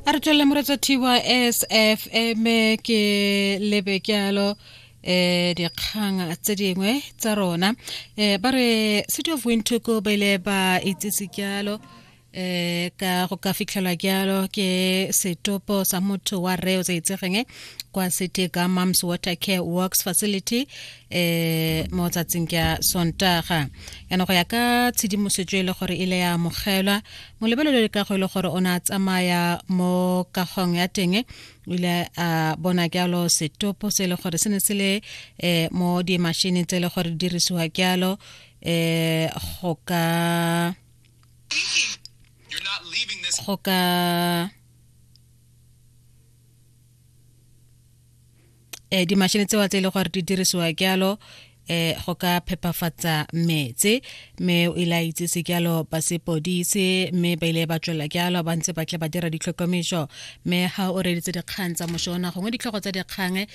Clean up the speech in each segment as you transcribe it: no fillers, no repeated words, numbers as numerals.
A re tswelele moretsa thiwa SFM ke lebe kyalo dikgang tse dingwe tsa rona. Ba re City of Windhoek ba ile ba itsise kyalo ka go ka fitlhelwa kyalo ke setopo sa motho wa rre o sa itsegeng kwa City ka Mams Water Care Works Facility mo tsatsing kya Sontaga. Yana go ya ka tshedimosetso e le gore ile ya amogelwa molebelelo le kago e le gore o ne a tsamaya mo kagong ya teng, o ile a bona jalo setopo se e le gore se ne se le mo dimashineng tse e le gore di dirisiwa jalo go ka dimashine tsewa tse e le gore di dirisiwa jalo go ka phepafatsa metse, mme o ile a itsise jalo ba sepodisi, mme ba ile ba tswelela jalo ba ntse ba tle ba dira ditlhokomiso. Mme ga o reditse dikgang tsa mošona gongwe ditlhogo tsa dikgang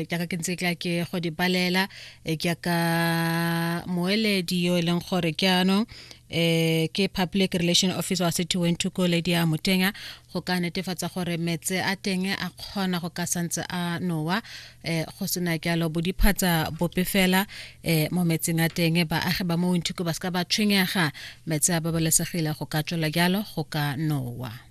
jaaka ke ntse tla ke go di balela, jaaka moeledi yo e leng gore ke anong ke public relation officer wa City Windhoek Lady ya Motenga, go ka netefatsa gore metse a teng a kgona go ka santse a nowa go sena jalo bodiphatsa bope fela mo metseng a teng. Baagi ba mo Windhoek ba seka ba tshwenyega, metsi a babalesegile go ka tswela jalo go ka nowa.